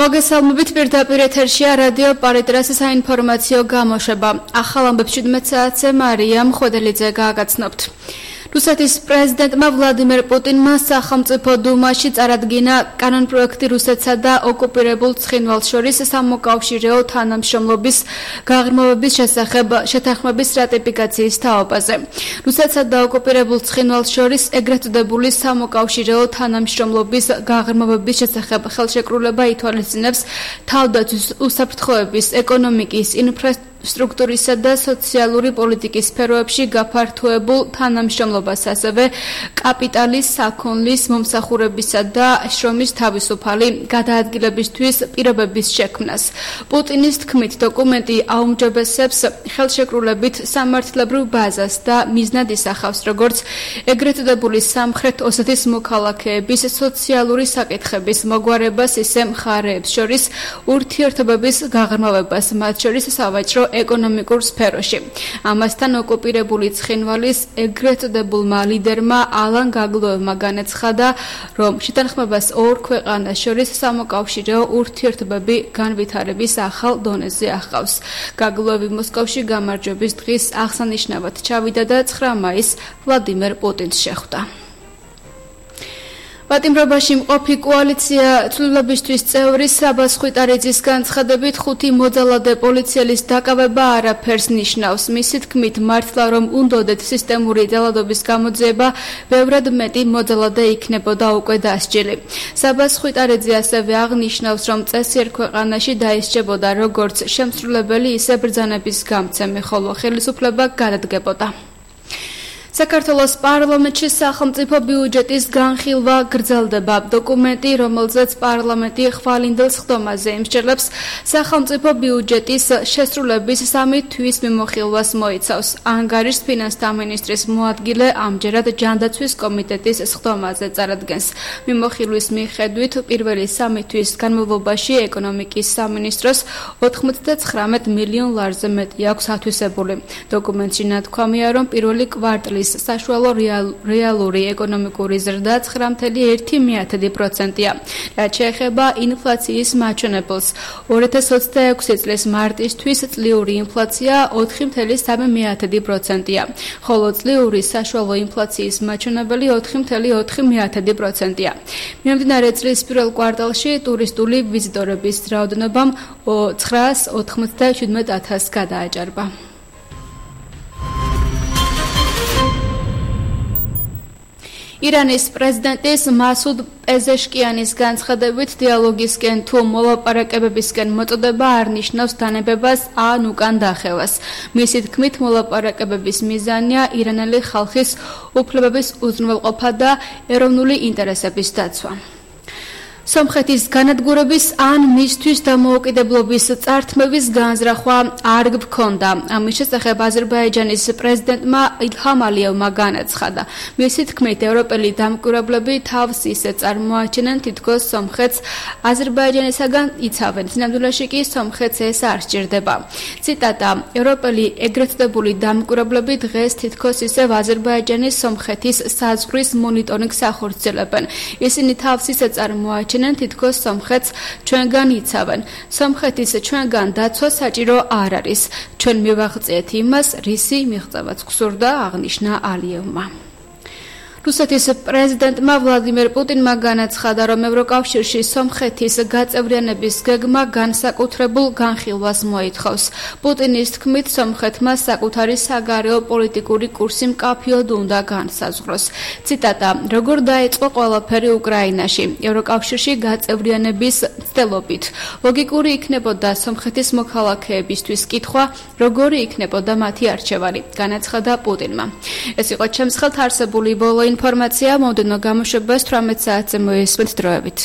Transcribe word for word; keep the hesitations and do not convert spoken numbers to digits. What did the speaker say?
მოგესალმებით პირდაპირ ეთერშია რადიო პარიტრას საინფორმაციო გამოშვება. ახალ ამბებს შვიდმეტ საათზე მარია მხვედელიძე გააგაცნობთ. რუსეთის პრეზიდენტმა ვლადიმერ პუტინმა სახელმწიფო დუმაში წარადგინა კანონპროექტი რუსეთსა და ოკუპირებულ ცხინვალს შორის სამოკავშირეო თანამშრომლობის გაღრმავების შესახებ შეთანხმების რატიფიკაციის თაობაზე. რუსეთსა და ოკუპირებულ ცხინვალს შორის ეგრეთ წოდებული სამოკავშირეო თანამშრომლობის გაღრმავების შესახებ ხელშეკრულება ითვალისწინებს თავდაცვის უსაფრთხოების, ეკონომიკის, ინფრასტრუქტურის სტრუქტურისა და სოციალური პოლიტიკის სფეროებში გაფართოებულ თანამშრომლობას, ასევე კაპიტალის, საქონლის, მომსახურებისა და შრომის თავისუფალი გადაადგილებისთვის პირობების შექმნას. პუტინის თქმით, დოკუმენტი აუმჯობესებს ხელშეკრულებით სამართლებრივ ბაზას და მიზნად ისახავს როგორც ეგრეთ წოდებული სამხრეთ ოსეთის მოქალაქეების სოციალური საკითხების მოგვარებას, ისე მხარეებს შორის ურთიერთობების გაღრმავებას, მათ შორის სავაჭრო ეკონომიკურ სფეროში. ამასთან ოკუპირებული ცხინვალის ეგრეთ წოდებულმა ლიდერმა ალან გაგლუევმა განაცხადა, რომ შეთანხმებას ორ ქვეყანას შორის სამოკავშირეო ურთიერთობები განვითარების ახალ დონეზე ახავს. გაგლუევი მოსკოვში გამარჯვების დღის აღსანიშნავად ჩავიდა და ცხრა მაისს ვლადიმერ პუტინს შეხვდა. პატიმრობაში მყოფი კოალიცია ცვლილებისთვის წევრი საბას ხვიტარიძის განცხადებით ხუთი მოძალადე პოლიციელის დაკავება არაფერს ნიშნავს. მისი თქმით, მართლა რომ უნდოდეთ სისტემური ძალადობის გამოძიება, ბევრად მეტი მოძალადე იქნებოდა უკვე დასჯილი. საბას ხვიტარიძე ასევე აღნიშნავს, რომ წესიერ ქვეყანაში დაისჯებოდა როგორც შემსრულებელი, ისე ბრძანების გამცემი, ხოლო ხელისუფლება გადადგებოდა. საქართველოს პარლამენტში სახელმწიფო ბიუჯეტის განხილვა გრძელდება. დოკუმენტი, რომელზეც პარლამენტი ხვალინდელ სხდომაზე იმსჯელებს, სახელმწიფო ბიუჯეტის შესრულების სამი თვის მიმოხილვას მოიცავს. ანგარიშს ფინანსთა მინისტრის მოადგილე ამჯერად ჯანდაცვის კომიტეტის სხდომაზე წარადგენს. მიმოხილვის მიხედვით, პირველი სამი თვის განმავლობაში ეკონომიკის სამინისტროს ოთხმოცდაცხრამეტ მილიონ ლარზე მეტი აქვს ათვისებული. დოკუმენტში ნათქვამია, რომ პირველი კვარტლის საშუალო რეალური ეკონომიკური ზრდა ცხრა ფاصლე ერთი პროცენტია. რაც შეეხება ინფლაციის მაჩვენებელს, ორი ათას ოცდაექვსი წლის მარტისთვის წლიური ინფლაცია ოთხი ფاصლე სამი პროცენტია, ხოლო წლიური საშუალო ინფლაციის მაჩვენებელი ოთხი ფاصლე ოთხი პროცენტია. მიმდინარე წლის პირველ კვარტალში ტურისტული ვიზიტორების რაოდენობამ ცხრაას ოთხმოცდაშვიდმეტ ათასს გადააჭარბა. ირანის პრეზიდენტის მასუდ პეზეშკიანის განცხადებით, დიალოგისკენ თუ მოლაპარაკებებისკენ მოწოდება არ ნიშნავს დანებებას ან უკან დახევას. მისი თქმით, მოლაპარაკებების მიზანია ირანელი ხალხის უფლებების უზრუნველყოფა და ეროვნული ინტერესების დაცვა. სომხეთის განადგურების ან მისთვის დამოუკიდებლობის წართმევის განზრახვა არ გქონდა. ამის შესახებ აზერბაიჯანის პრეზიდენტმა ილჰამ ალიევმა განაცხადა. მისი თქმით, ევროპელი დამკვირვებლები თავს ისე წარმოაჩენენ, თითქოს სომხეთს აზერბაიჯანისაგან იცავენ. სინამდვილეში კი სომხეთს ეს არ სჭირდება. ციტატა: ევროპელი ეგრეთ წოდებული დამკვირვებლები დღეს თითქოს ისევ აზერბაიჯანის სომხეთის საზღვრის მონიტორინგს ახორციელებენ. ისინი თავს ისე წარმოაჩენენ, თითქოს სომხეთს ჩვენგან იცავენ. სომხეთის ჩვენგან დაცვა საჭირო არ არის. ჩვენ მივაღწიეთ იმას, რისი მიღწევაც გსურდა, აღნიშნა ალიევმა. რუსეთის პრეზიდენტმა ვლადიმერ პუტინმა განაცხადა, რომ ევროკავშირში სომხეთის გაწევრიანების გეგმა განსაკუთრებულ განხილვას მოითხოვს. პუტინის თქმით, სომხეთმა საკუთარი საგარეო პოლიტიკური კურსი მკაფიოდ უნდა განსაზღვროს. ციტატა: როგორ დაიწყო ყველაფერი უკრაინაში, ევროკავშირში გაწევრიანების მცდელობით. ლოგიკური იქნებოდა სომხეთის მოქალაქეებისთვის კითხვა, როგორი იქნებოდა მათი არჩევანი, განაცხადა პუტინმა. ეს იყო ჩემს ხელთ არსებული ბოლო ინფორმაცია, მომდევნო გამოშვებას თვრამეტ საათზე მოესმენთ დროებით.